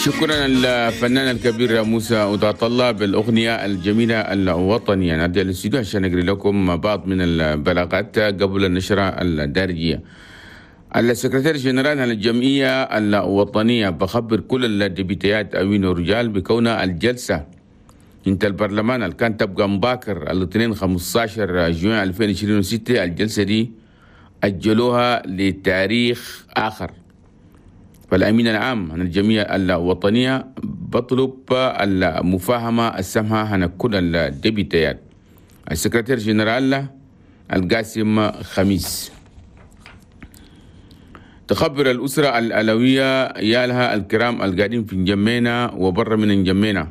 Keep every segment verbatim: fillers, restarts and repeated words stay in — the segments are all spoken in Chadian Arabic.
شكرا الفنان الكبير موسى ودعت الله بالأغنية الجميلة الوطنية. نرجع للاستوديو عشان نقري لكم بعض من البلاغات قبل النشرة الدارجية. ال secrétaire général الجمعية الوطنية بخبر كل ال député ات أوين ورجال بكون الجلسة انت البرلمان اللي كان تبقى مباكر الاثنين خمسة عشر جوان ألفين وعشرين وستة، الجلسة دي أجلوها لتاريخ آخر. فالأمين العام عن الجمعية الوطنية بطلب المفاهمة السمحة عن كل ال député ات. ال secrétaire général القاسم خميس. تخبر الأسرة العلوية عيالها الكرام القاعدين في نجمينا وبر من نجمينا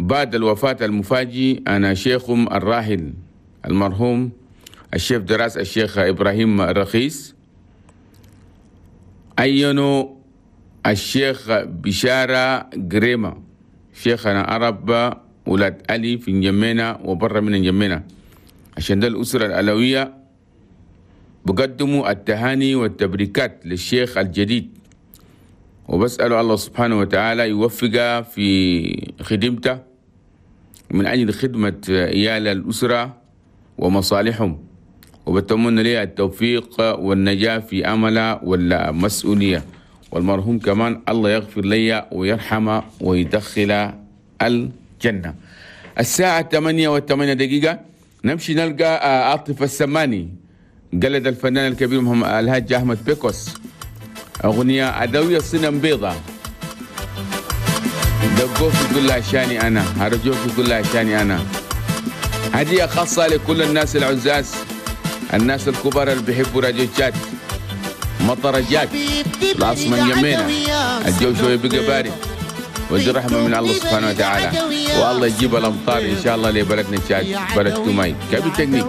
بعد الوفاة المفاجئ أنا شيخهم الراحل المرحوم ال chef de race الشيخ إبراهيم الرخيص، عينوا الشيخ بشارة قريمة شيخنا عرب ولاد علي في نجمينا وبر من نجمينا. عشان ده الأسرة العلوية بقدموا التهاني والتبريكات للشيخ الجديد، وبسأله الله سبحانه وتعالى يوفقه في خدمته من أجل خدمة عيال الأسرة ومصالحهم، وبتمنى له التوفيق والنجاة في عمله والمسؤولية. والمرحوم كمان الله يغفر لي ويرحمه ويدخل الجنة. الساعة ثمانية وثمانية دقيقة، نمشي نلقى عاطف السماني قلد الفنان الكبير محمد الهاج أحمد بيكوس، أغنية عدوية صنم بيضة. دقوك يقول لها عشاني أنا، هرجوك يقول لها عشاني أنا. هدية خاصة لكل الناس العزاز، الناس الكبار اللي بيحبوا راديو تشاد. مطر جات العاصمة نجمينا، الجو شوي بقى بارد، ودي رحمة من الله سبحانه وتعالى، والله يجيب الأمطار إن شاء الله لبلدنا تشاد، بلد توماي كابي تكنيك.